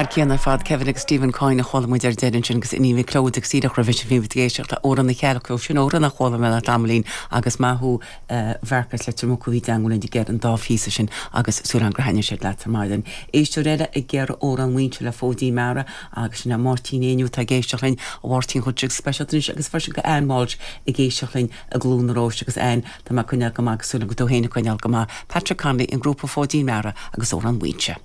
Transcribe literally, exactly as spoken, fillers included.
Ar céanna fad Kevin agus Stephen Coyne a chuala muid ar deireadh ansin agus Iníon Mhic Clóid agus díreach roimhe sin bhí ag éisteacht le Amhrán na Cearc sin amhrán a chuala mé le tamaillín agus maith Mharcas le Mucu bhí deanúin ag an dá phíosa sin agus súil gur thaitnigh siad leat ar maidin. Éisteoir eile ag iarraidh Amhrán Mhuínse le Fóidín Meara agus sin Máirtín Éinniú tá ag éisteacht linn a Mháirtín chun speisialta agus freisin go Ann Walsh ag éisteacht linn i gCluain na Róis agus Ann tá mé coinneáil go maith súil go tú féin coinneáil go maith Patrick Connolly an grúpa Fóidín Meara agus Amhrán Mhuínse.